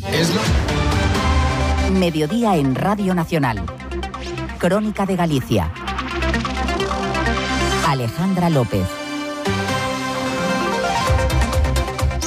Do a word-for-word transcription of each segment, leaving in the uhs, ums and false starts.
Es lo... Mediodía en Radio Nacional. Crónica de Galicia. Alejandra López.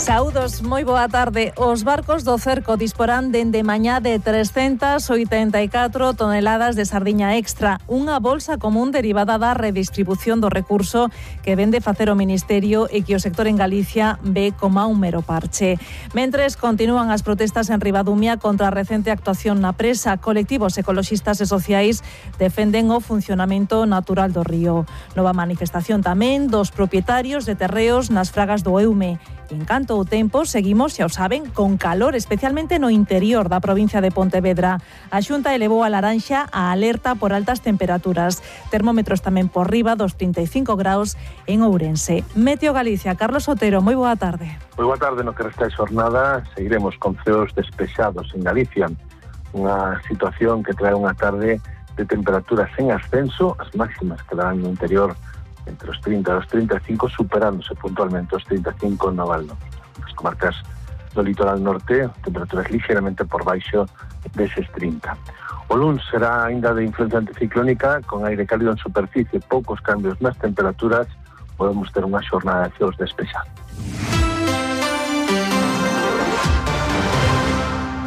Saúdos, moi boa tarde. Os barcos do cerco disporán dende mañá de trescentas oitenta e catro toneladas de sardiña extra, unha bolsa común derivada da redistribución do recurso que vende facer o Ministerio e que o sector en Galicia ve como un mero parche. Mentres continúan as protestas en Ribadumia contra a recente actuación na presa, colectivos ecoloxistas e sociais defenden o funcionamento natural do río. Nova manifestación tamén dos propietarios de terreos nas fragas do Eume. En canto ao tempo, seguimos, xa o saben, con calor, especialmente no interior da provincia de Pontevedra. A Xunta elevou a laranxa a alerta por altas temperaturas. Termómetros tamén por riba dos trinta e cinco graus en Ourense. Meteo Galicia, Carlos Otero, moi boa tarde. Moi boa tarde, no que resta de xornada seguiremos con ceos despexados en Galicia. Unha situación que trae unha tarde de temperaturas en ascenso, as máximas quedarán no interior entre os trinta e os trinta e cinco, superándose puntualmente os trinta e cinco no Val Norte. As comarcas do litoral norte, temperaturas ligeramente por baixo deses trinta. O luns será ainda de influencia anticiclónica, con aire cálido en superficie, poucos cambios nas temperaturas, podemos ter unha xornada de ceos despexados.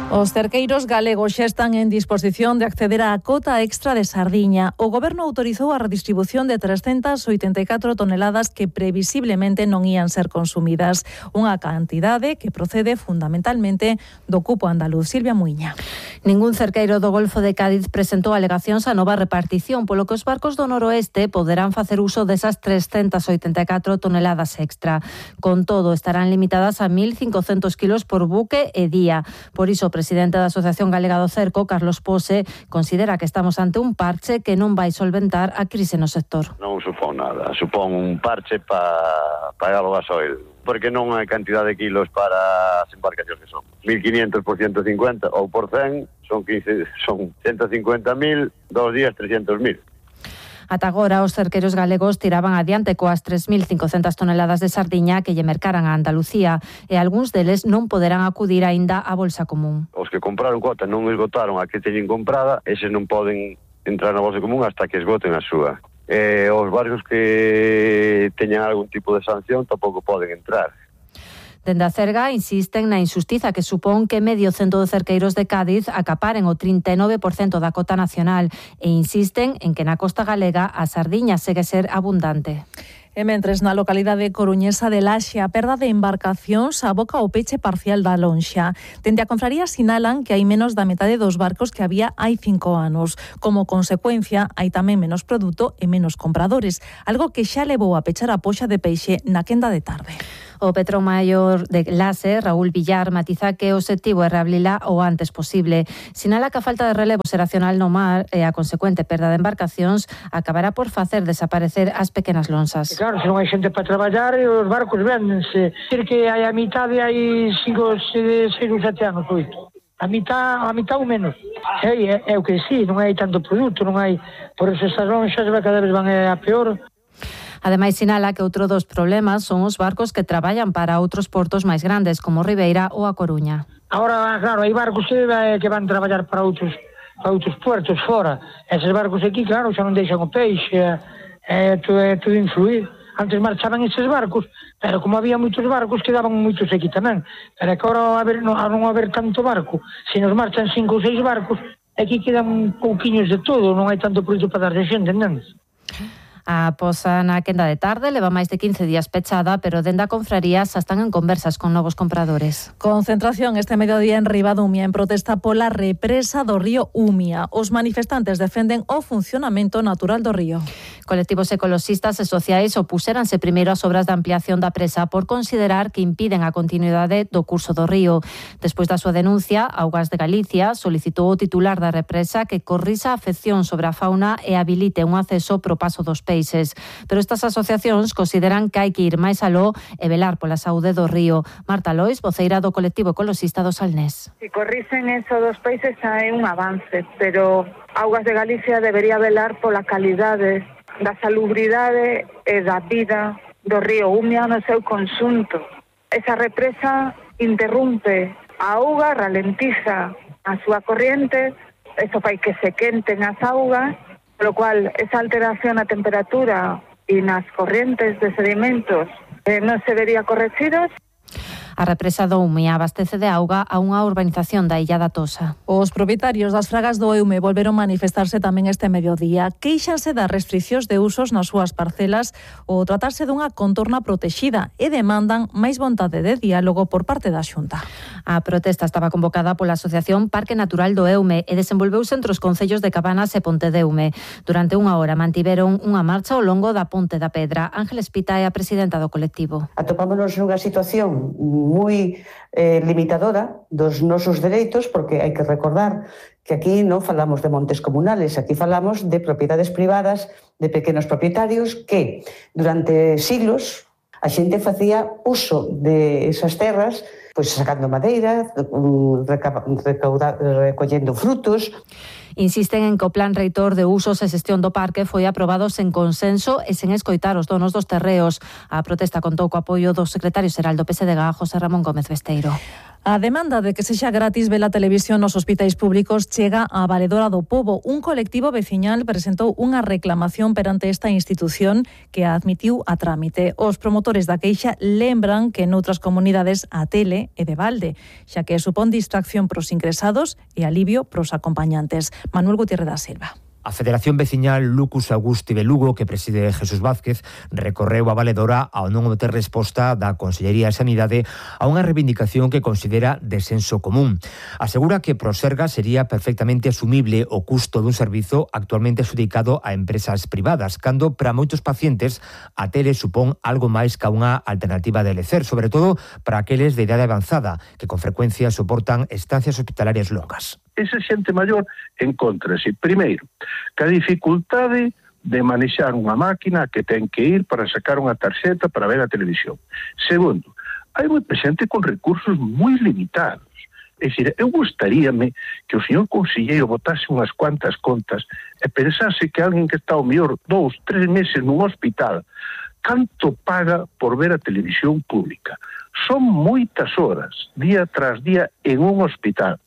Os cerqueiros galegos xa están en disposición de acceder á cota extra de sardiña. O Goberno autorizou a redistribución de trescentas oitenta e catro toneladas que previsiblemente non ían ser consumidas. Unha cantidade que procede fundamentalmente do cupo andaluz. Silvia Muiña. Ningún cerqueiro do Golfo de Cádiz presentou alegacións á nova repartición, polo que os barcos do noroeste poderán facer uso desas trescentas oitenta e catro toneladas extra. Con todo, estarán limitadas a mil cincocentos kilos por buque e día. Por iso, o presidente da Asociación Galega do Cerco, Carlos Pose, considera que estamos ante un parche que non vai solventar a crise no sector. Non supón nada, supón un parche para pagar o gasoil, porque non hai cantidad de kilos para as embarcacións que son. mil quinientos por ciento cincuenta ou por cen son quince, son ciento cincuenta mil, dos días trescentos mil. Ata agora, os cerqueiros galegos tiraban adiante coas tres mil cincocentas toneladas de sardiña que lle mercaran a Andalucía e algúns deles non poderán acudir aínda á bolsa común. Os que compraron cuota non esgotaron a que teñen comprada, eses non poden entrar na bolsa común hasta que esgoten a súa. E os barcos que teñan algún tipo de sanción tampouco poden entrar. Dende a Cerga insisten na injustiza que supón que medio cento de cerqueiros de Cádiz acaparen o trinta e nove por cento da cota nacional e insisten en que na costa galega a sardiña segue ser abundante. E mentres na localidade coruñesa de Laxe a perda de embarcacións aboca o peche parcial da lonxa. Dende a confraría sinalan que hai menos da metade dos barcos que había hai cinco anos. Como consecuencia, hai tamén menos produto e menos compradores, algo que xa levou a pechar a poxa de peixe na quenda de tarde. O Petromaior de Laxe, Raúl Villar, matiza que o obxectivo é reabrila o antes posible. Sinala que a falta de relevo xeracional no mar e a consecuente perda de embarcacións acabará por facer desaparecer as pequenas lonxas. Claro, se non hai xente para traballar, os barcos véndense. Dir que hai a mitade, hai cinco, seis ou sete anos, oito. A mitad, a mitad ou menos. É, é, é o que sí, non hai tanto produto, non hai... Por eso estas lonxas cada vez van a peor. Ademais, sinala que outro dos problemas son os barcos que traballan para outros portos máis grandes, como Ribeira ou A Coruña. Ahora, claro, hai barcos que, que van traballar para outros, para outros puertos fora. Eses barcos aquí, claro, xa non deixan o peixe, é, é, é tudo influir. Antes marchaban eses barcos, pero como había moitos barcos, quedaban moitos aquí tamén. Pero é que ahora, a ver, non, a non haber tanto barco, se nos marchan cinco ou seis barcos, aquí quedan pouquiños de todo, non hai tanto produto para dar de xente, non? A posa na quenda de tarde leva máis de quince días pechada, pero dende a confraría xa están en conversas con novos compradores. Concentración este mediodía en Ribadumia en protesta pola represa do río Umia. Os manifestantes defenden o funcionamento natural do río. Colectivos ecoloxistas e sociais opuxéranse primeiro ás obras de ampliación da presa por considerar que impiden a continuidade do curso do río. Despois da súa denuncia, Augas de Galicia solicitou ao titular da represa que corrisa a afección sobre a fauna e habilite un acceso pro paso dos peixes. Pero estas asociacións consideran que hai que ir máis aló e velar pola saúde do río. Marta Lois, voceira do colectivo ecoloxista do Salnés. Si corrisen eso dos peixes hai un avance, pero Augas de Galicia debería velar pola calidade da salubridade e da vida do río Umia no seu conxunto. Esa represa interrumpe a auga ralentiza a súa corriente, eso fai que se quenten as augas, polo cual esa alteración na temperatura e nas correntes de sedimentos eh, non se vería corregidos. A represa do Eume abastece de auga a unha urbanización da Illa da Tosa. Os propietarios das fragas do Eume volveron manifestarse tamén este mediodía. Queixanse das restriccións de usos nas súas parcelas ou tratarse dunha contorna protexida e demandan máis vontade de diálogo por parte da Xunta. A protesta estaba convocada pola Asociación Parque Natural do Eume e desenvolveuse entre os concellos de Cabanas e Pontedeume. Durante unha hora mantiveron unha marcha ao longo da Ponte da Pedra. Ángeles Pita é a presidenta do colectivo. Atopámonos nunha situación moi eh, limitadora dos nosos dereitos, porque hai que recordar que aquí non falamos de montes comunales, aquí falamos de propiedades privadas, de pequenos propietarios que durante siglos a xente facía uso de esas terras, pois sacando madeira, recauda, recollendo frutos. Insisten en que o plan reitor de usos e xestión do parque foi aprobado sen consenso e sen escoitar os donos dos terreos. A protesta contou co apoio do secretario xeral do P S D G, José Ramón Gómez Besteiro. A demanda de que sexa gratis ver a televisión nos hospitais públicos chega á Valedora do Pobo. Un colectivo veciñal presentou unha reclamación perante esta institución que a admitiu a trámite. Os promotores da queixa lembran que noutras comunidades a tele é de balde, xa que supón distracción pros ingresados e alivio pros acompañantes. Manuel Gutiérrez da Silva. A Federación Veciñal Lucus Augusti de Lugo, que preside Jesús Vázquez, recorreu a Valedora ao non obter resposta da Consellería de Sanidade a unha reivindicación que considera de senso común. Asegura que pro Sergas sería perfectamente asumible o custo dun servizo actualmente adjudicado a empresas privadas, cando para moitos pacientes a tele supón algo máis que unha alternativa de lecer, sobre todo para aqueles de idade avanzada, que con frecuencia soportan estancias hospitalarias longas. Esa xente maior encontrase, primeiro, ca dificultade de manexar unha máquina que ten que ir para sacar unha tarxeta para ver a televisión. Segundo, hai moita xente con recursos moi limitados. É dicir, eu gustaríame que o señor conselleiro botase unhas cuantas contas e pensase que alguén que está ao mellor dous, tres meses nun hospital, canto paga por ver a televisión pública. Son moitas horas, día tras día, en un hospital.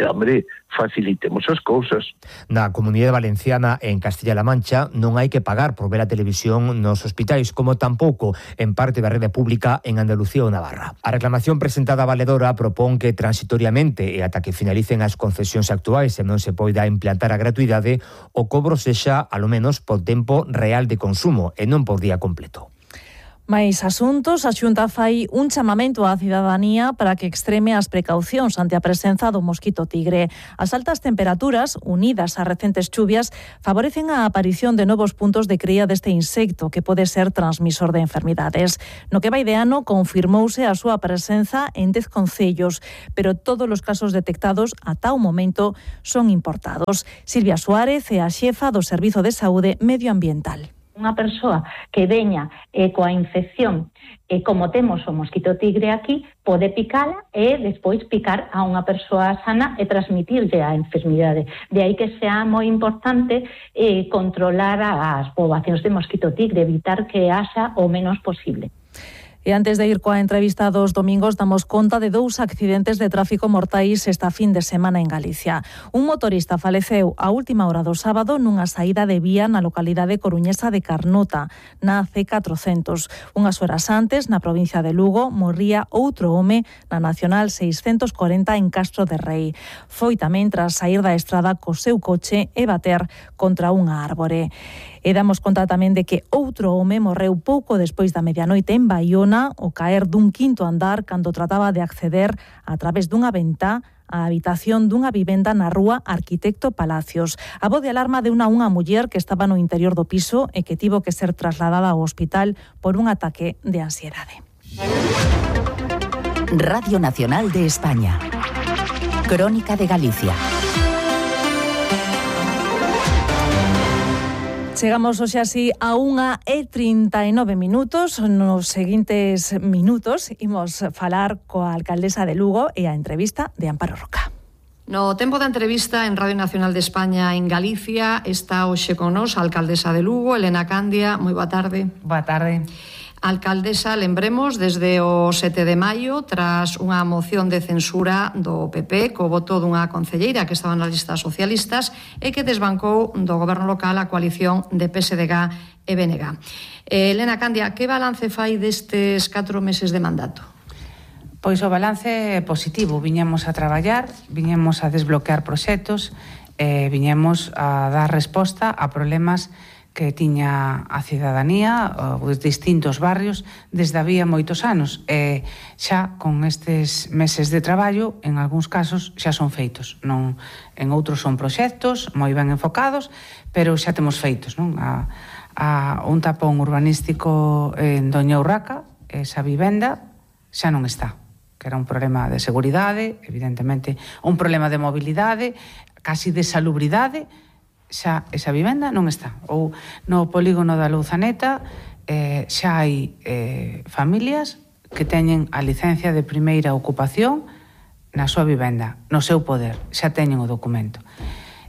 E, hombre, facilitemos as cousas. Na Comunidade Valenciana e en Castilla-La Mancha non hai que pagar por ver a televisión nos hospitais, como tampouco en parte da rede pública en Andalucía ou Navarra. A reclamación presentada a Valedora propón que transitoriamente e ata que finalicen as concesións actuais e non se poida implantar a gratuidade, o cobro sexa, alo menos, por tempo real de consumo e non por día completo. Mais asuntos, a Xunta fai un chamamento á cidadanía para que extreme as precaucións ante a presenza do mosquito tigre. As altas temperaturas, unidas ás recentes chuvias, favorecen a aparición de novos puntos de cría deste insecto que pode ser transmisor de enfermidades. No que vai de ano confirmouse a súa presenza en dez concellos, pero todos os casos detectados ata o momento son importados. Silvia Suárez é a xefa do Servizo de Saúde Medioambiental. Unha persoa que veña eh, coa infección, e eh, como temos o mosquito tigre aquí, pode picala e despois picar a unha persoa sana e transmitirlle a enfermidade. De aí que sea moi importante eh, controlar as poboacións de mosquito tigre, evitar que haxa o menos posible. E antes de ir coa entrevista dos domingos, damos conta de dous accidentes de tráfico mortais esta fin de semana en Galicia. Un motorista faleceu a última hora do sábado nunha saída de vía na localidade coruñesa de Carnota, na C catrocentos. Unhas horas antes, na provincia de Lugo, morría outro home na Nacional seiscentos corenta en Castro de Rei. Foi tamén tras saír da estrada co seu coche e bater contra unha árbore. E damos conta tamén de que outro home morreu pouco despois da medianoite en Baiona ao caer dun quinto andar cando trataba de acceder a través dunha ventá á habitación dunha vivenda na rúa Arquitecto Palacios. A voz de alarma deu unha unha muller que estaba no interior do piso e que tivo que ser trasladada ao hospital por un ataque de ansiedade. Radio Nacional de España. Crónica de Galicia. Chegamos hoxe así a unha e trinta e nove minutos. Nos seguintes minutos imos falar coa alcaldesa de Lugo e a entrevista de Amparo Roca. No tempo da entrevista en Radio Nacional de España en Galicia está hoxe con nos a alcaldesa de Lugo, Elena Candia. Moi boa tarde. Boa tarde. Alcaldesa, lembremos, desde o sete de maio, tras unha moción de censura do P P co voto dunha concelleira que estaba nas listas socialistas e que desbancou do goberno local a coalición de P S D G e B N G. Eh, Elena Candia, que balance fai destes catro meses de mandato? Pois o balance é positivo. Viñemos a traballar, viñemos a desbloquear proxectos, eh, viñemos a dar resposta a problemas que tiña a cidadanía, os distintos barrios, desde había moitos anos. E xa con estes meses de traballo, en algúns casos, xa son feitos. Non, en outros son proxectos moi ben enfocados, pero xa temos feitos. Non? A, a un tapón urbanístico en Doña Urraca, esa vivenda, xa non está. Que era un problema de seguridade, evidentemente, un problema de mobilidade, casi de salubridade, xa esa vivenda non está. Ou no polígono da Louzaneta eh, xa hai eh, familias que teñen a licencia de primeira ocupación na súa vivenda, no seu poder, xa teñen o documento.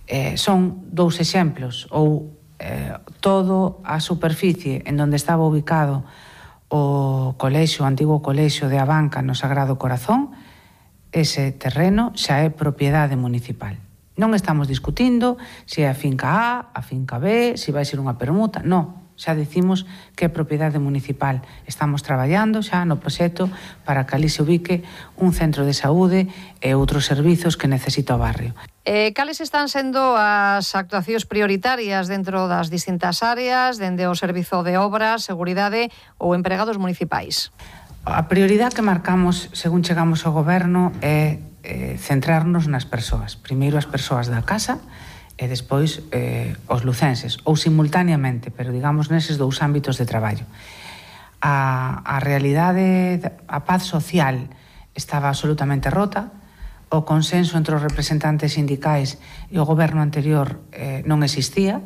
Eh, son dous exemplos, ou eh, todo a superficie en donde estaba ubicado o colexo, o antigo colexo de Abanca no Sagrado Corazón, ese terreno xa é propiedade municipal. Non estamos discutindo se é a finca A, a finca B, se vai ser unha permuta, non. Xa dicimos que é propiedade municipal. Estamos traballando xa no proxecto para que ali se ubique un centro de saúde e outros servizos que necesita o barrio. Eh, cales están sendo as actuacións prioritarias dentro das distintas áreas, dende o Servizo de Obras, Seguridade ou empregados municipais? A prioridade que marcamos según chegamos ao goberno é eh, centrarnos nas persoas. Primeiro as persoas da casa e despois eh, os lucenses, ou simultaneamente, pero digamos neses dous ámbitos de traballo. A, a realidade, a paz social estaba absolutamente rota, o consenso entre os representantes sindicais e o goberno anterior eh, non existía,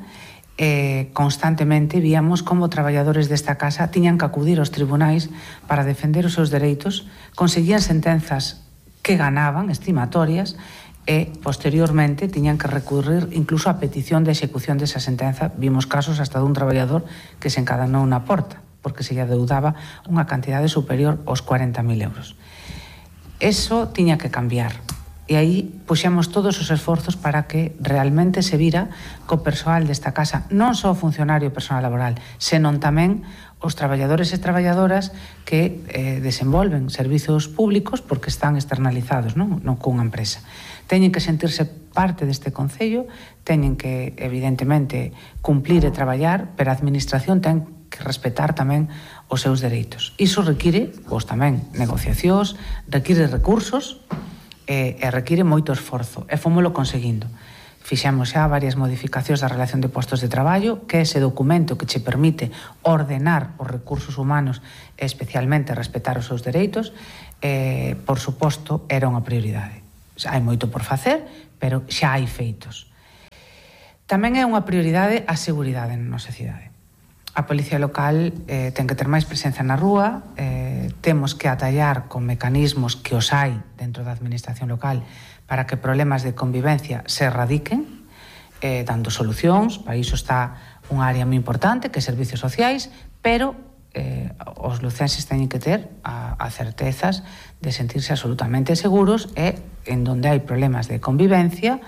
e constantemente víamos como traballadores desta casa tiñan que acudir aos tribunais para defender os seus dereitos, conseguían sentenzas que ganaban, estimatorias, e posteriormente tiñan que recurrir incluso a petición de execución desa sentenza. Vimos casos hasta dun traballador que se encadenou na porta porque se lle adeudaba unha cantidade superior aos cuarenta mil euros. Eso tiña que cambiar. E aí puxemos todos os esforzos para que realmente se vira co persoal desta casa, non só o funcionario personal laboral, senón tamén os traballadores e traballadoras que eh, desenvolven servizos públicos porque están externalizados, non, non cunha empresa. Teñen que sentirse parte deste concello, teñen que, evidentemente, cumplir e traballar, pero a administración ten que respetar tamén os seus dereitos. Iso require, pois tamén, negociacións, require recursos e, e require moito esforzo. E fomoslo conseguindo. Fixemos xa varias modificacións da relación de postos de traballo, que é ese documento que che permite ordenar os recursos humanos e especialmente respetar os seus dereitos, e, por suposto, era unha prioridade. Xa hai moito por facer, pero xa hai feitos. Tamén é unha prioridade a seguridade na nosa cidade. A Policía Local eh, ten que ter máis presenza na rúa, eh, temos que atallar con mecanismos que os hai dentro da administración local para que problemas de convivencia se erradiquen, eh, dando solucións. Para iso está unha área moi importante, que é servicios sociais, pero eh, os lucenses teñen que ter a, a certezas de sentirse absolutamente seguros e, en donde hai problemas de convivencia,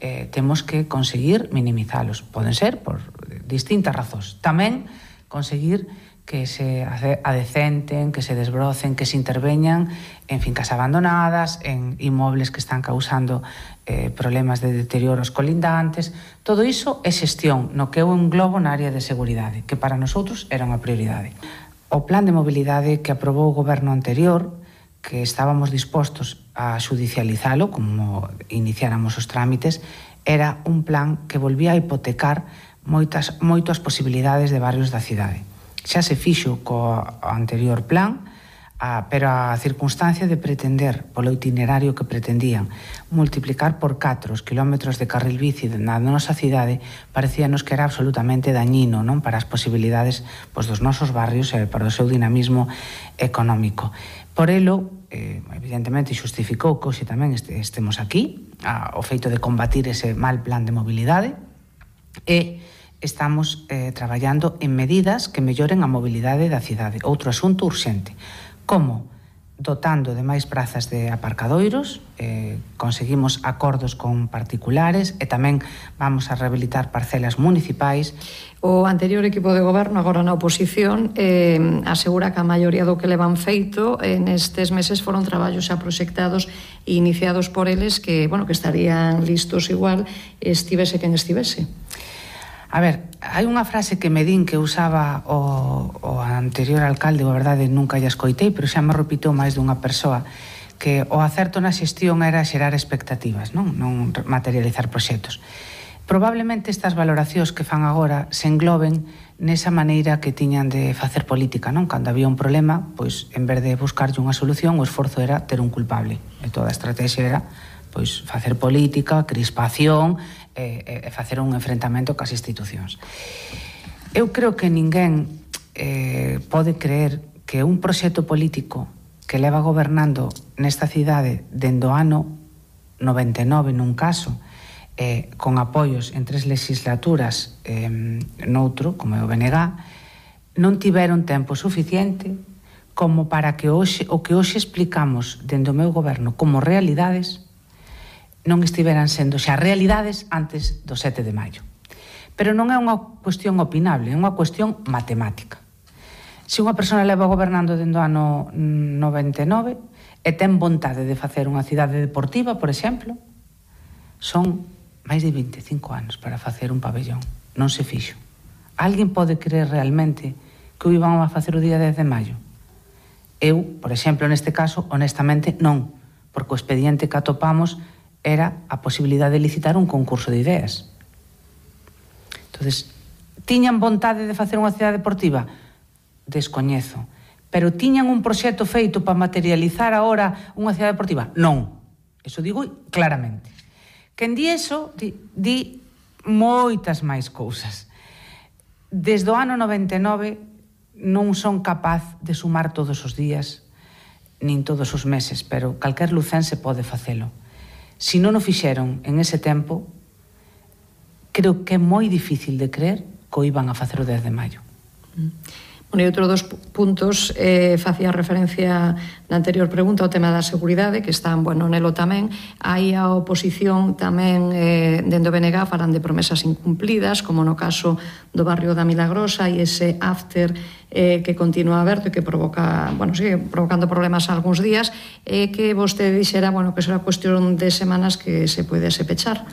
eh, temos que conseguir minimizalos. Poden ser por distintas razóns. Tamén conseguir que se adecenten, que se desbrocen, que se interveñan en fincas abandonadas, en inmobles que están causando eh, problemas de deterioros colindantes. Todo iso é xestión no que eu englobo na área de seguridade, que para nosotros era unha prioridade. O plan de mobilidade que aprobou o goberno anterior, que estábamos dispostos a xudicializalo, como iniciáramos os trámites, era un plan que volvía a hipotecar moitas, moitas posibilidades de barrios da cidade. Xa se fixo co anterior plan, a, pero a circunstancia de pretender, polo itinerario que pretendían, multiplicar por catro os kilómetros de carril bici na nosa cidade, parecíanos que era absolutamente dañino, non, para as posibilidades, pois, dos nosos barrios e para o seu dinamismo económico. Por elo, eh, evidentemente, xustificou que hoxe tamén este, estemos aquí, a, o feito de combatir ese mal plan de mobilidade, e estamos eh, traballando en medidas que melloren a mobilidade da cidade. Outro asunto urxente, como dotando de máis prazas de aparcadoiros, eh, conseguimos acordos con particulares e tamén vamos a rehabilitar parcelas municipais. O anterior equipo de goberno, agora na oposición, eh, asegura que a maioría do que levan feito eh, nestes meses foron traballos xa proxectados e iniciados por eles que, bueno, que estarían listos igual estivese quen estivese. A ver, hai unha frase que me din que usaba o, o anterior alcalde, a verdade nunca lla escoitei, pero xa me repitou máis dunha persoa, que o acerto na xestión era xerar expectativas, non, non materializar proxectos. Probablemente estas valoracións que fan agora se engloben nesa maneira que tiñan de facer política, non? Cando había un problema, pois en vez de buscarlle unha solución, o esforzo era ter un culpable. E toda a estrategia era pois facer política, crispación e, e facer un enfrentamento cas institucións. Eu creo que ninguén eh, pode creer que un proxecto político que leva gobernando nesta cidade dende o ano noventa e nove nun caso, eh, con apoios en tres legislaturas eh, noutro, como é o B N G, non tiveron tempo suficiente como para que hoxe, o que hoxe explicamos dende o meu goberno como realidades non estiveran sendo xa realidades antes do sete de maio. Pero non é unha cuestión opinable, é unha cuestión matemática. Se unha persona leva gobernando dende o ano noventa e nove e ten vontade de facer unha cidade deportiva, por exemplo, son máis de vinte e cinco anos para facer un pabellón. Non se fixo. Alguén pode creer realmente que o iban a facer o día dez de maio? Eu, por exemplo, neste caso, honestamente, non, porque o expediente que atopamos era a posibilidade de licitar un concurso de ideas. Entonces, tiñan vontade de facer unha cidade deportiva? Descoñezo. Pero tiñan un proxecto feito para materializar agora unha cidade deportiva? Non. Eso digo claramente. Quen di eso, di, di moitas máis cousas. Desde o ano noventa e nove non son capaz de sumar todos os días, nin todos os meses, pero calquer lucense pode facelo. Si non o fixeron en ese tempo, creo que é moi difícil de creer que o iban a facer o dez de maio. Bueno, e outro dos puntos eh, facía referencia na anterior pregunta ao tema da seguridade, que están, bueno, nelo tamén. Aí a oposición tamén eh, dende o B N G falan de promesas incumplidas, como no caso do barrio da Milagrosa e ese after eh, que continúa aberto e que provoca, bueno, sigue provocando problemas algúns días, e eh, que vostede dixera, bueno, que será cuestión de semanas que se poidese pechar.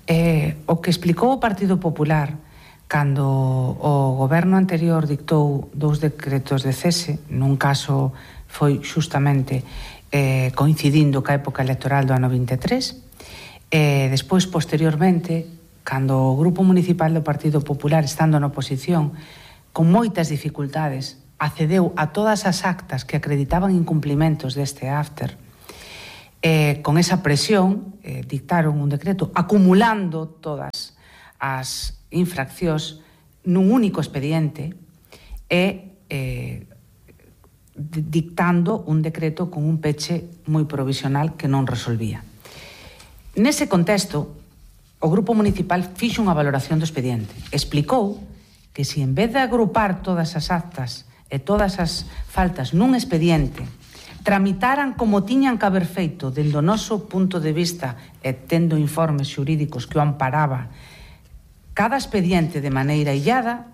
Eh, o que explicou o Partido Popular cando o goberno anterior dictou dous decretos de cese, nun caso foi xustamente eh, coincidindo ca época electoral do ano vinte e tres, e despois, posteriormente, cando o Grupo Municipal do Partido Popular, estando na oposición, con moitas dificultades, accedeu a todas as actas que acreditaban incumplimentos deste after, eh, con esa presión, eh, dictaron un decreto acumulando todas as infraccións nun único expediente e eh, dictando un decreto con un peche moi provisional que non resolvía. Nese contexto, o Grupo Municipal fixo unha valoración do expediente. Explicou que se en vez de agrupar todas as actas e todas as faltas nun expediente, tramitaran como tiñan que haber feito dende o noso punto de vista e tendo informes xurídicos que o amparaba cada expediente de maneira illada,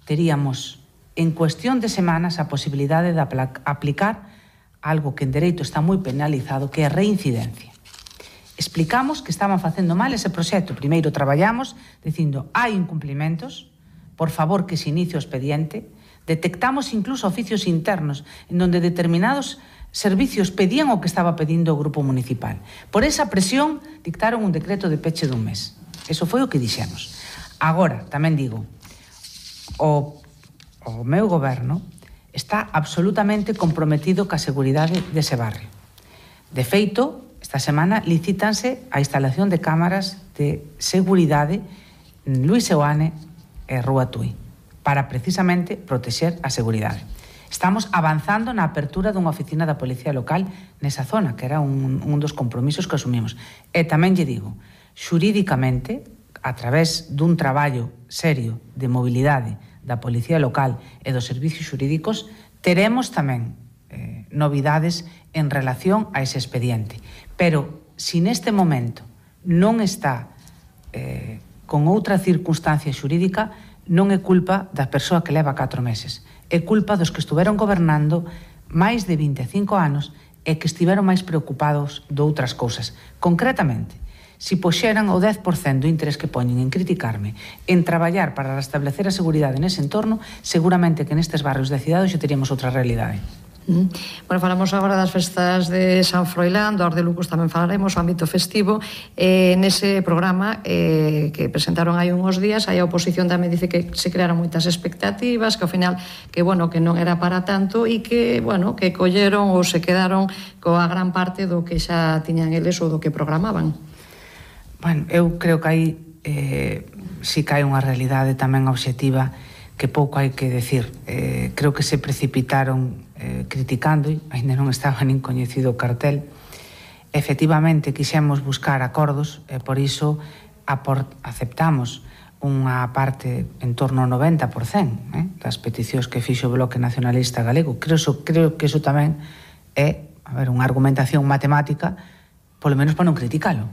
teríamos en cuestión de semanas a posibilidade de aplicar algo que en dereito está moi penalizado, que é a reincidencia. Explicamos que estaban facendo mal ese proxecto. Primeiro traballamos dicindo hai incumplimentos, por favor que se inicie o expediente. Detectamos incluso oficios internos en donde determinados servicios pedían o que estaba pedindo o Grupo Municipal. Por esa presión dictaron un decreto de peche dun mes. Eso foi o que dixemos. Agora, tamén digo, o, o meu goberno está absolutamente comprometido ca seguridade dese barrio. De feito, esta semana licítanse a instalación de cámaras de seguridade en Luís Seoane e Rúa Tui, para precisamente protexer a seguridade. Estamos avanzando na apertura dunha oficina da Policía Local nesa zona, que era un, un dos compromisos que asumimos. E tamén lle digo, xurídicamente, a través dun traballo serio de mobilidade da Policía Local e dos servicios xurídicos, teremos tamén eh, novidades en relación a ese expediente. Pero, se neste momento non está eh, con outra circunstancia xurídica, non é culpa da persoa que leva catro meses. É culpa dos que estuveron gobernando máis de vinte e cinco anos e que estiveron máis preocupados de outras cousas. Concretamente, se poxeran o dez por cento do interés que poñen en criticarme, en traballar para restablecer a seguridade nese entorno, seguramente que nestes barrios de cidade xe teríamos outra realidade. Mm. Bueno, falamos agora das festas de San Froilán, do Ar de Lucos tamén falaremos, o ámbito festivo. Eh, nese programa eh, que presentaron hai uns días, aí a oposición tamén dice que se crearon moitas expectativas, que ao final que, bueno, que non era para tanto e que, bueno, que colleron ou se quedaron coa gran parte do que xa tiñan eles ou do que programaban. Bueno, eu creo que aí eh, si que hai unha realidade tamén obxectiva que pouco hai que decir. Eh, creo que se precipitaron eh, criticando, e ainda non estaba nin coñecido o cartel. Efectivamente, quixemos buscar acordos e por iso aport, aceptamos unha parte en torno ao noventa por cento eh, das peticións que fixo o Bloque Nacionalista Galego. Creo, so, creo que iso tamén é, a ver, unha argumentación matemática, polo menos para non criticalo.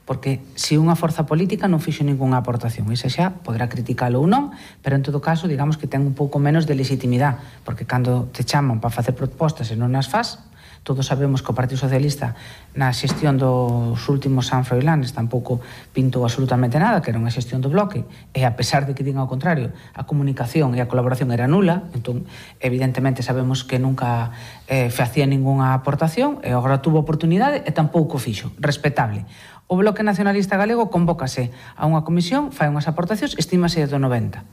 Porque se unha forza política non fixo ningunha aportación, esa xa podrá criticalo ou non, pero en todo caso, digamos que ten un pouco menos de legitimidade, porque cando te chaman para facer propostas e non as faz, todos sabemos que o Partido Socialista na xestión dos últimos San Froilanes tampouco pintou absolutamente nada, que era unha xestión do Bloque, e a pesar de que digan ao contrario, a comunicación e a colaboración era nula, entón evidentemente sabemos que nunca eh, facía ningunha aportación, e agora tuvo oportunidade e tampouco fixo, respetable. O Bloque Nacionalista Galego convócase a unha comisión, fai unhas aportacións, estímase do noventa,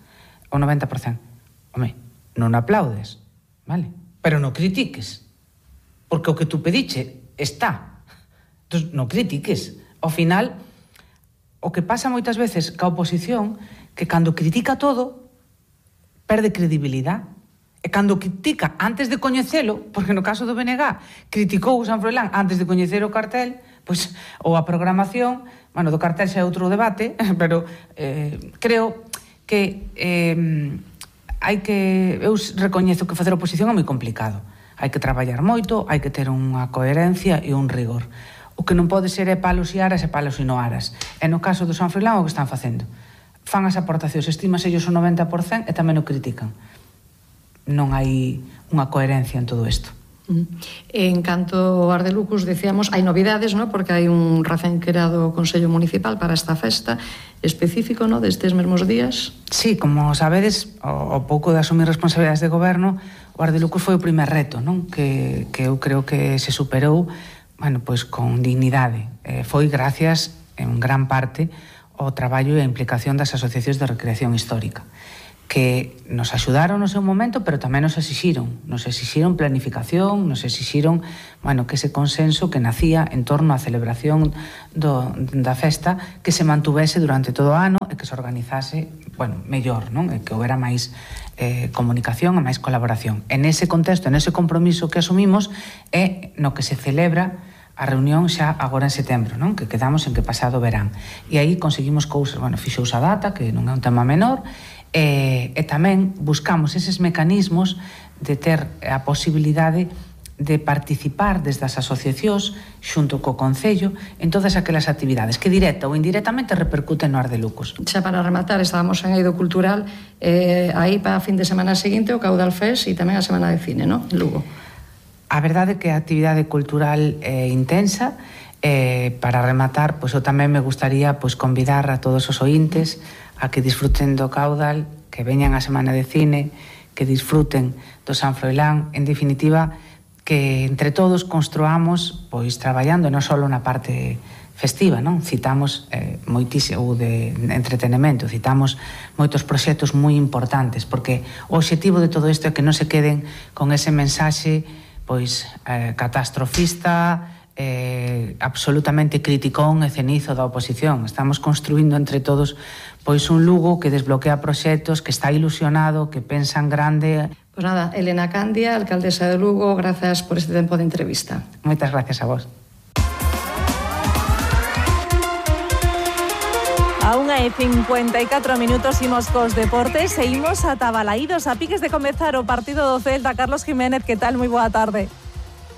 o noventa por cento. Home, non aplaudes, vale? Pero non critiques, porque o que tú pediche está. Entón, non critiques. Ao final, o que pasa moitas veces ca oposición, que cando critica todo, perde credibilidade. E cando critica antes de coñecelo, porque no caso do B N G criticou o San Froilán antes de coñecer o cartel, pois, ou a programación, bueno, do cartel xa é outro debate, pero eh, creo que eh, hai que, eu recoñezo que facer oposición é moi complicado. Hai que traballar moito, hai que ter unha coherencia e un rigor. O que non pode ser é palos e aras e palos e no aras. E no caso do San Froilán o que están facendo? Fan as aportacións, estímase ellos o noventa por cento e tamén o critican. Non hai unha coherencia en todo isto. En canto ao Ar de Lucos, decíamos, hai novidades, ¿no? Porque hai un recén creado Consello Municipal para esta festa específico, ¿no? Destes mesmos días. Sí, como sabedes, o, o pouco de asumir responsabilidades de goberno, o Ar de Lucos foi o primer reto, non? Que, que eu creo que se superou, bueno, pois con dignidade. Eh, foi gracias, en gran parte, ao traballo e a implicación das asociacións de recreación histórica, que nos axudaron no seu momento, pero tamén nos exixiron, nos exixiron planificación, nos exixiron, bueno, que ese consenso que nacía en torno á celebración do, da festa que se mantuvese durante todo o ano e que se organizase, bueno, mellor, non? E que houbera máis eh, comunicación e máis colaboración. En ese contexto, en ese compromiso que asumimos é no que se celebra a reunión xa agora en setembro, non? Que quedamos en que pasado verán. E aí conseguimos cousas, bueno, fixouse a data, que non é un tema menor, E, e tamén buscamos eses mecanismos de ter a posibilidade de participar desde as asociacións xunto co Concello en todas aquelas actividades que directa ou indirectamente repercuten no Ar de Lucos. Xa para rematar, estábamos en Eido Cultural, eh, aí para a fin de semana seguinte o Caudal Fest e tamén a Semana de Cine, non? En Lugo. A verdade é que a actividade cultural é intensa. Eh, para rematar, pois eu tamén me gustaría pois convidar a todos os ointes a que disfruten do Caudal, que veñan á Semana de Cine, que disfruten do San Froilán, en definitiva, que entre todos construamos, pois traballando non só na parte festiva, non? Citamos eh, moitísimo de entretenimento, citamos moitos proxectos moi importantes, porque o obxectivo de todo isto é que non se queden con ese mensaxe pois eh, catastrofista, eh, absolutamente criticón e cenizo da oposición. Estamos construindo entre todos pois un Lugo que desbloquea proxectos, que está ilusionado, que pensa en grande. Pois nada, Elena Candia, alcaldesa de Lugo, grazas por este tempo de entrevista. Moitas gracias a vos. A unha e cincuenta e catro minutos imos cos deportes e imos ata Balaídos a piques de comezar o partido do Celta. Carlos Jiménez, que tal? Moi boa tarde.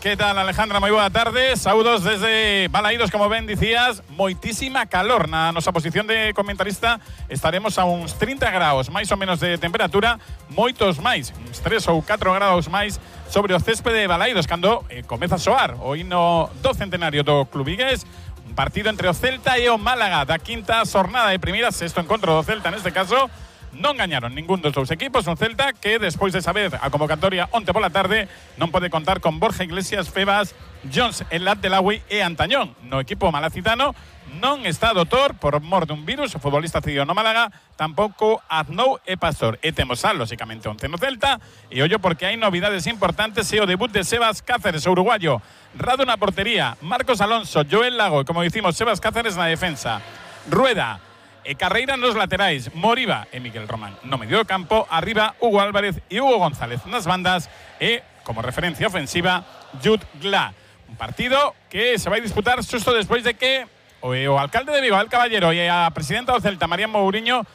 Que tal, Alejandra? Moi boa tarde. Saúdos desde Balaídos, como ben dicías, moitísima calor na nosa posición de comentarista. Estaremos a uns trinta graus máis ou menos de temperatura, moitos máis, uns tres ou catro graus máis sobre o céspede de Balaídos cando eh, comeza a soar o hino do centenario do club vigués. Un partido entre o Celta e o Málaga da quinta xornada de primeira, sexto encontro do Celta neste caso. Non gañaron ningún dos dous equipos. Un Celta que, despois de saber a convocatoria onte pola tarde, non pode contar con Borja Iglesias, Febas, Jones, El Abdelawi e Antañón. No equipo malacitano non está doutor por mor dun virus. O futbolista cedido no Málaga, tampouco Aznou e Pastor. E temos a, lóxicamente, once no Celta. E ollo porque hai novidades importantes e o debut de Sebas Cáceres, o uruguayo. Rado na portería, Marcos Alonso, Joel Lago, como dicimos, Sebas Cáceres na defensa. Rueda e Carreira nos laterais, Moriba e Miguel Román no medio do campo, arriba Hugo Álvarez e Hugo González nas bandas e, como referencia ofensiva, Jude Gla. Un partido que se vai disputar xusto despois de que o, o alcalde de Vigo, Al Caballero, e a presidenta do Celta, María Mouriño,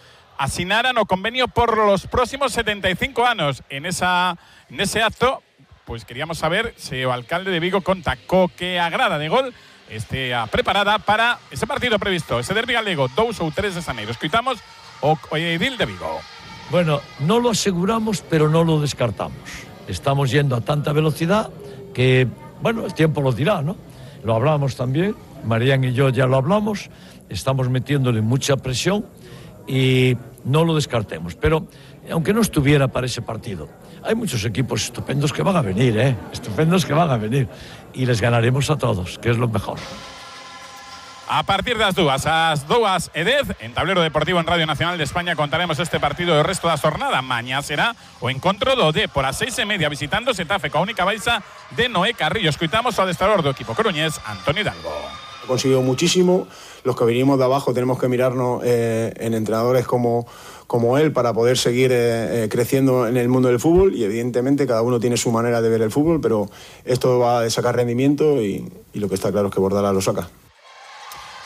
asinaran o convenio por los próximos setenta e cinco anos. En esa nese acto, pois queríamos saber se o alcalde de Vigo conta co que agrada de gol estea preparada para ese partido previsto, ese derbi galego, dous ou tres de xaneiro. Escoitamos o, o edil de Vigo. Bueno, no lo aseguramos, pero no lo descartamos. Estamos yendo a tanta velocidad que, bueno, el tiempo lo dirá, ¿no? Lo hablamos también, Marián y yo ya lo hablamos, estamos metiéndole mucha presión y no lo descartemos. Pero, aunque no estuviera para ese partido, hay muchos equipos estupendos que van a venir, ¿eh? Estupendos que van a venir. Y les ganaremos a todos, que es lo mejor. A partir das dúas, as dúas e dez, en Tablero Deportivo en Radio Nacional de España contaremos este partido e o resto da xornada. Mañá será o encontro do D por as seis e media visitando Xetafe coa única baixa de Noé Carrillo. Escoitamos o adestrador do equipo coruñés, Antonio Hidalgo. Ha conseguido muchísimo. Los que venimos de abajo tenemos que mirarnos eh, en entrenadores como, como él para poder seguir eh, eh, creciendo en el mundo del fútbol, y evidentemente cada uno tiene su manera de ver el fútbol, pero esto va a sacar rendimiento y, y lo que está claro es que Bordalás lo saca.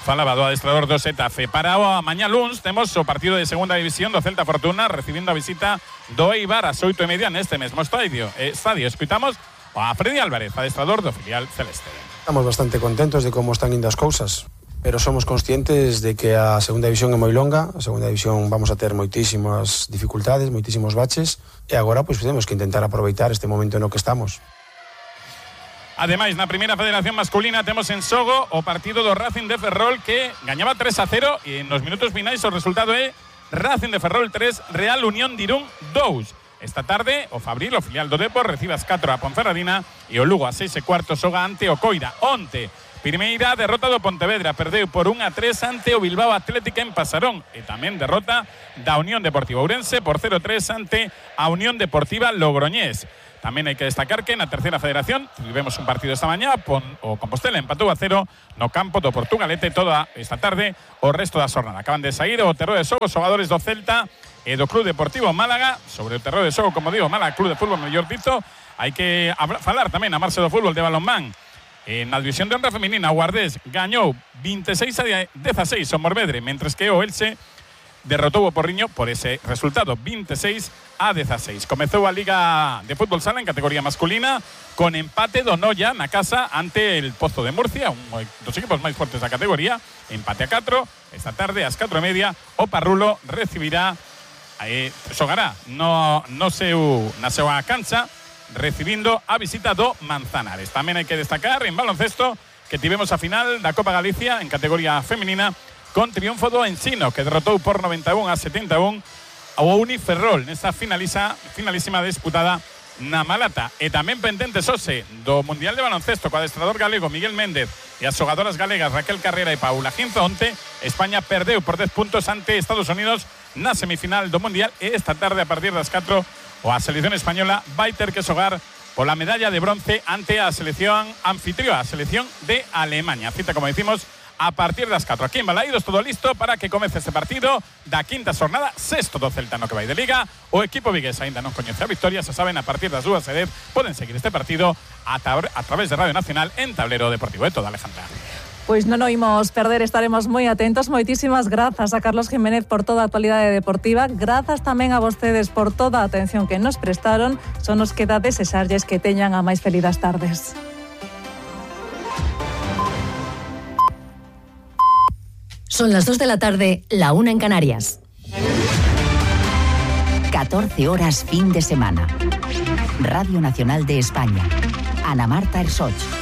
Falaba do adestrador do Xetafe. Para o mañá luns temos o partido de segunda división do Celta Fortuna recibindo a visita do Eibar ás oito e media neste mesmo estadio. Eh, estadio. Escoitamos a Freddy Álvarez, adestrador do filial celeste. Estamos bastante contentos de como están indo as cousas, pero somos conscientes de que a segunda división é moi longa. A segunda división vamos a ter moitísimas dificultades, moitísimos baches, e agora pois temos que intentar aproveitar este momento no que estamos. Ademais, na primeira federación masculina temos en xogo o partido do Racing de Ferrol, que gañaba tres a cero e nos minutos finais o resultado é Racing de Ferrol tres, Real Unión de Irún dous. Esta tarde o Fabril, o filial do Depor, recibe as catro a Ponferradina e o Lugo a seis e cuarto xoga ante o Coira. Onte, primeira derrota do Pontevedra, perdeu por un a tres ante o Bilbao Atlético en Pasarón, e tamén derrota da Unión Deportiva Ourense por cero a tres ante a Unión Deportiva Logroñés. Tamén hai que destacar que na terceira federación tivemos un partido esta mañá, pon, o Compostela empatou a cero no campo do Portugalete toda esta tarde o resto da xornada. Acaban de sair o terreo de xogo os xogadores do Celta e do Club Deportivo Málaga. Sobre o terreo de xogo, como digo, Málaga Club de Fútbol mellor dito, hai que falar tamén a marcha do fútbol de balonmán. En a división de honra feminina, o Guardés gañou veintiséis a dieciséis o Morvedre, mentres que o Elche derrotou o Porriño por ese resultado, veintiséis a dieciséis. Comezou a Liga de Fútbol Sala en categoría masculina con empate do Noia na casa ante el Pozo de Murcia, un dos equipos máis fortes da categoría, empate a catro. Esta tarde ás catro e media o Parrulo recibirá eh, xogará no, no seu, na súa cancha recibindo a visita do Manzanares. Tamén hai que destacar en baloncesto que tivemos a final da Copa Galicia en categoría femenina con triunfo do Ensino, que derrotou por noventa e un a setenta e un ao Uniferrol nesta finaliza, finalísima disputada na Malata. E tamén pendente Xose do Mundial de Baloncesto co adestrador galego Miguel Méndez e as xogadoras galegas Raquel Carrera e Paula Ginzo. Onte España perdeu por dez puntos ante Estados Unidos na semifinal do Mundial, e esta tarde a partir das catro o a selección española vai ter que xogar pola medalla de bronce ante a selección anfitrión, a selección de Alemania. Cita, como decimos, a partir das catro. Aquí en Balaídos todo listo para que comece este partido da quinta xornada, sexto do Celta no que vai de Liga. O equipo vigués aínda non coñece a victoria, se saben, a partir das dúas e dez poden seguir este partido a, a través de Radio Nacional en Tablero Deportivo. É toda, Alejandra. Pois non o imos perder, estaremos moi atentos. Moitísimas grazas a Carlos Jiménez por toda a actualidade deportiva. Grazas tamén a vostedes por toda a atención que nos prestaron. Só nos queda desexarlles que teñan a máis felidas tardes. Son las dos de la tarde, la una en Canarias. catorce horas fin de semana. Radio Nacional de España. Ana Marta Ersoch.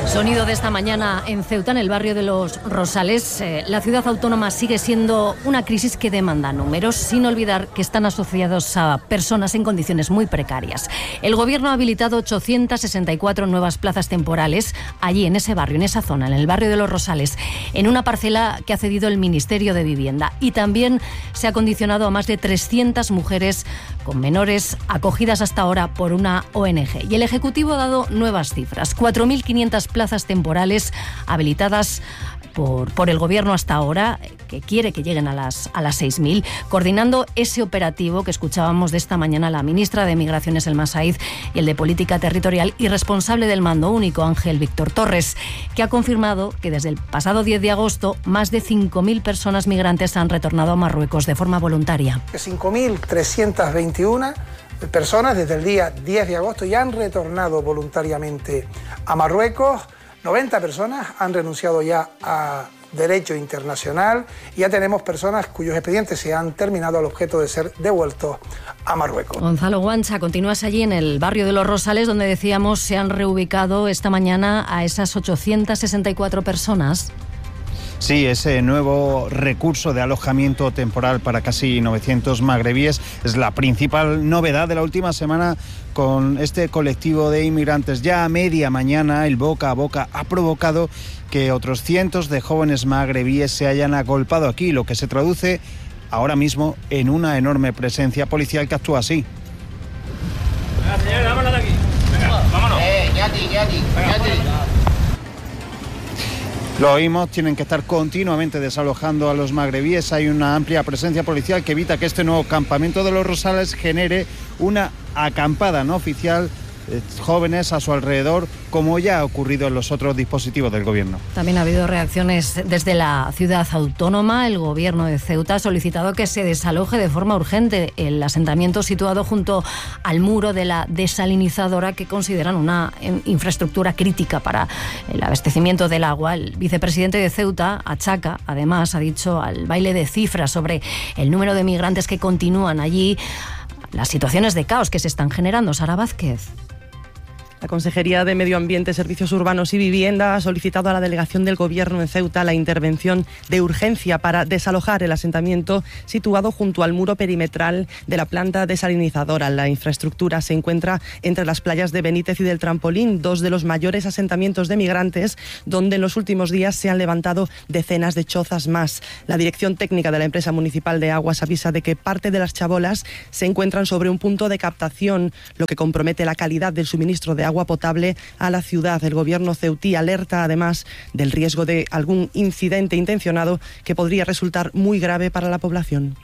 Sonido de esta mañana en Ceuta, en el barrio de Los Rosales. Eh, la ciudad autónoma sigue siendo una crisis que demanda números, sin olvidar que están asociados a personas en condiciones muy precarias. El gobierno ha habilitado ochocientas sesenta y cuatro nuevas plazas temporales allí, en ese barrio, en esa zona, en el barrio de Los Rosales, en una parcela que ha cedido el Ministerio de Vivienda. Y también se ha condicionado a más de trescientas mujeres con menores acogidas hasta ahora por una O N G. Y el Ejecutivo ha dado nuevas cifras: cuatro mil quinientas plazas temporales habilitadas por, por el Gobierno hasta ahora, que quiere que lleguen a las, a las seis mil, coordinando ese operativo que escuchábamos de esta mañana la ministra de Migraciones, Elma Saíz, y el de Política Territorial y responsable del Mando Único, Ángel Víctor Torres, que ha confirmado que desde el pasado diez de agosto más de cinco mil personas migrantes han retornado a Marruecos de forma voluntaria. cinco mil trescientas veintiuna personas desde el día diez de agosto ya han retornado voluntariamente a Marruecos. noventa personas han renunciado ya a derecho internacional y ya tenemos personas cuyos expedientes se han terminado al objeto de ser devueltos a Marruecos. Gonzalo Guancha, continúas allí en el barrio de Los Rosales, donde decíamos se han reubicado esta mañana a esas ochocientas sesenta y cuatro personas. Sí, ese nuevo recurso de alojamiento temporal para casi novecientos magrebíes es la principal novedad de la última semana con este colectivo de inmigrantes. Ya a media mañana el boca a boca ha provocado que otros cientos de jóvenes magrebíes se hayan agolpado aquí, lo que se traduce ahora mismo en una enorme presencia policial que actúa así. Venga, señores, vámonos de aquí. Venga, vámonos. Eh, Yati, Yati, Yati. Lo oímos, tienen que estar continuamente desalojando a los magrebíes. Hay una amplia presencia policial que evita que este nuevo campamento de Los Rosales genere una acampada no oficial, eh, jóvenes a su alrededor, como ya ha ocurrido en los otros dispositivos del gobierno. También ha habido reacciones desde la ciudad autónoma. El gobierno de Ceuta ha solicitado que se desaloje de forma urgente el asentamiento situado junto al muro de la desalinizadora, que consideran una infraestructura crítica para el abastecimiento del agua. El vicepresidente de Ceuta achaca, además, ha dicho, al baile de cifras sobre el número de migrantes que continúan allí, las situaciones de caos que se están generando. Sara Vázquez. La Consejería de Medio Ambiente, Servicios Urbanos y Vivienda ha solicitado a la delegación del Gobierno en Ceuta la intervención de urgencia para desalojar el asentamiento situado junto al muro perimetral de la planta desalinizadora. La infraestructura se encuentra entre las playas de Benítez y del Trampolín, dos de los mayores asentamientos de migrantes, donde en los últimos días se han levantado decenas de chozas más. La Dirección Técnica de la Empresa Municipal de Aguas avisa de que parte de las chabolas se encuentran sobre un punto de captación, lo que compromete la calidad del suministro de agua potable a la ciudad. El gobierno ceutí alerta además del riesgo de algún incidente intencionado que podría resultar muy grave para la población.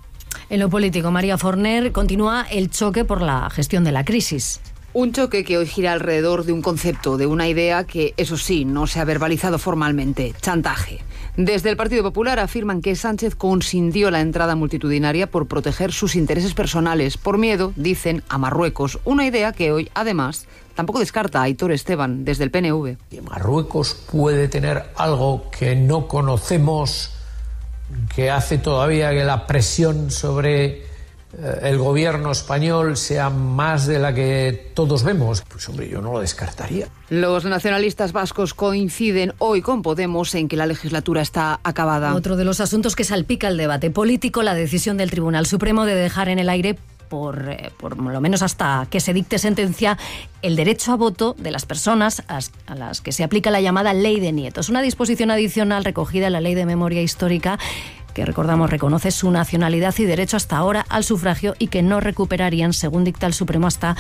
En lo político, María Forner, continúa el choque por la gestión de la crisis. Un choque que hoy gira alrededor de un concepto, de una idea que, eso sí, no se ha verbalizado formalmente: chantaje. Desde el Partido Popular afirman que Sánchez consintió la entrada multitudinaria por proteger sus intereses personales, por miedo, dicen, a Marruecos. Una idea que hoy, además, tampoco descarta Aitor Esteban, desde el P N V. Marruecos puede tener algo que no conocemos, que hace todavía que la presión sobre el gobierno español sea más de la que todos vemos. Pues hombre, yo no lo descartaría. Los nacionalistas vascos coinciden hoy con Podemos en que la legislatura está acabada. Otro de los asuntos que salpica el debate político, la decisión del Tribunal Supremo de dejar en el aire, por, eh, por lo menos hasta que se dicte sentencia, el derecho a voto de las personas a, a las que se aplica la llamada Ley de Nietos, una disposición adicional recogida en la Ley de Memoria Histórica que recordamos reconoce su nacionalidad y derecho hasta ahora al sufragio y que no recuperarían, según dicta el Supremo, hasta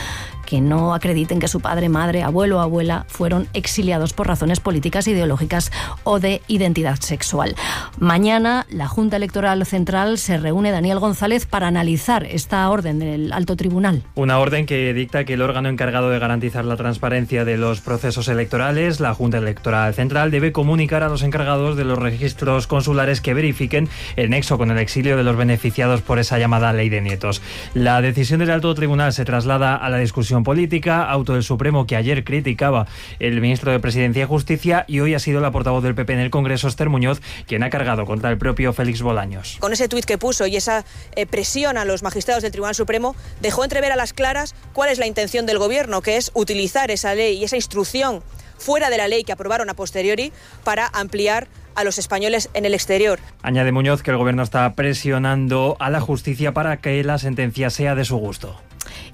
que no acrediten que su padre, madre, abuelo o abuela fueron exiliados por razones políticas, ideológicas o de identidad sexual. Mañana la Junta Electoral Central se reúne, Daniel González, para analizar esta orden del Alto Tribunal. Una orden que dicta que el órgano encargado de garantizar la transparencia de los procesos electorales, la Junta Electoral Central, debe comunicar a los encargados de los registros consulares que verifiquen el nexo con el exilio de los beneficiados por esa llamada ley de nietos. La decisión del Alto Tribunal se traslada a la discusión política, auto del Supremo que ayer criticaba el ministro de Presidencia y Justicia, y hoy ha sido la portavoz del P P en el Congreso, Esther Muñoz, quien ha cargado contra el propio Félix Bolaños. Con ese tuit que puso y esa eh, presión a los magistrados del Tribunal Supremo, dejó entrever a las claras cuál es la intención del Gobierno, que es utilizar esa ley y esa instrucción fuera de la ley que aprobaron a posteriori para ampliar a los españoles en el exterior. Añade Muñoz que el Gobierno está presionando a la justicia para que la sentencia sea de su gusto.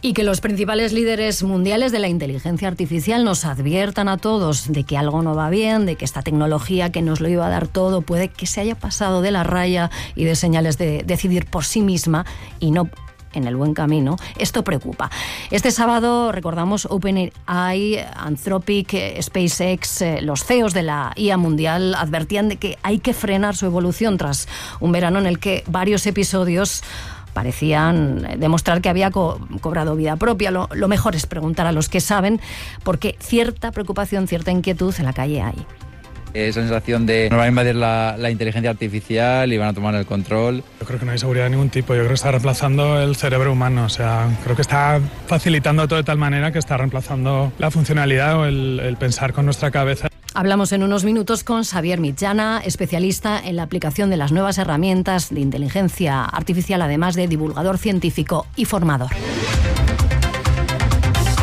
Y que los principales líderes mundiales de la inteligencia artificial nos adviertan a todos de que algo no va bien, de que esta tecnología que nos lo iba a dar todo puede que se haya pasado de la raya y de señales de decidir por sí misma y no en el buen camino. Esto preocupa. Este sábado, recordamos, OpenAI, Anthropic, SpaceX, eh, los C E Os de la I A mundial advertían de que hay que frenar su evolución tras un verano en el que varios episodios parecían demostrar que había co- cobrado vida propia. Lo, lo mejor es preguntar a los que saben, porque cierta preocupación, cierta inquietud en la calle hay. Esa sensación de nos van a invadir la, la inteligencia artificial y van a tomar el control. Yo creo que no hay seguridad de ningún tipo. Yo creo que está reemplazando el cerebro humano. O sea, creo que está facilitando todo de tal manera que está reemplazando la funcionalidad o el, el pensar con nuestra cabeza. Hablamos en unos minutos con Xavier Mitjana, especialista en la aplicación de las nuevas herramientas de inteligencia artificial, además de divulgador científico y formador.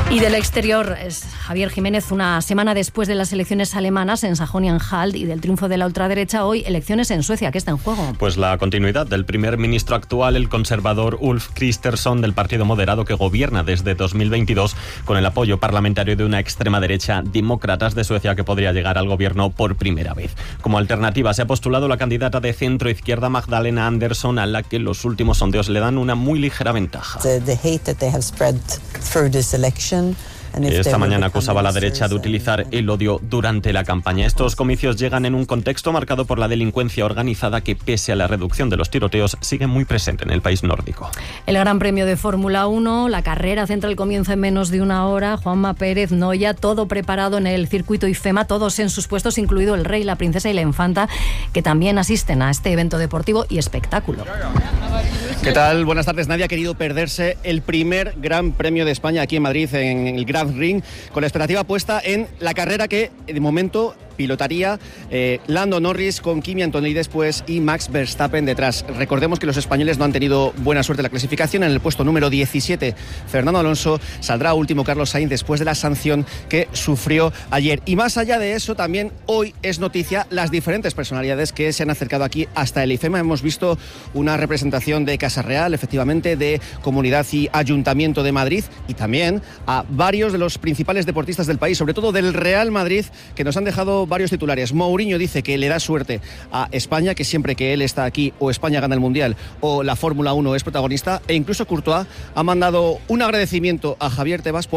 Y del exterior, es Javier Jiménez, una semana después de las elecciones alemanas en Sajonia-Anhalt y del triunfo de la ultraderecha, hoy elecciones en Suecia. ¿Qué está en juego? Pues la continuidad del primer ministro actual, el conservador Ulf Kristersson, del Partido Moderado, que gobierna desde dos mil veintidós con el apoyo parlamentario de una extrema derecha, Demócratas de Suecia, que podría llegar al gobierno por primera vez. Como alternativa se ha postulado la candidata de centro-izquierda Magdalena Andersson, a la que los últimos sondeos le dan una muy ligera ventaja. The, the hate that they have spread through this election. Esta mañana acusaba a la derecha de utilizar el odio durante la campaña. Estos comicios llegan en un contexto marcado por la delincuencia organizada que, pese a la reducción de los tiroteos, sigue muy presente en el país nórdico. El Gran Premio de Fórmula uno, la carrera centra el comienzo en menos de una hora. Juanma Pérez, Noya, todo preparado en el circuito IFEMA, todos en sus puestos, incluido el rey, la princesa y la infanta, que también asisten a este evento deportivo y espectáculo. ¿Qué tal? Buenas tardes. Nadie ha querido perderse el primer Gran Premio de España aquí en Madrid, en el Grand Ring, con la expectativa puesta en la carrera que de momento pilotaría eh, Lando Norris con Kimi Antonelli después y Max Verstappen detrás. Recordemos que los españoles no han tenido buena suerte en la clasificación. En el puesto número diecisiete, Fernando Alonso, saldrá último Carlos Sainz después de la sanción que sufrió ayer. Y más allá de eso, también hoy es noticia las diferentes personalidades que se han acercado aquí hasta el IFEMA. Hemos visto una representación de Casa Real, efectivamente, de Comunidad y Ayuntamiento de Madrid, y también a varios de los principales deportistas del país, sobre todo del Real Madrid, que nos han dejado varios titulares. Mourinho dice que le da suerte a España, que siempre que él está aquí o España gana el Mundial o la Fórmula uno es protagonista, e incluso Courtois ha mandado un agradecimiento a Javier Tebas por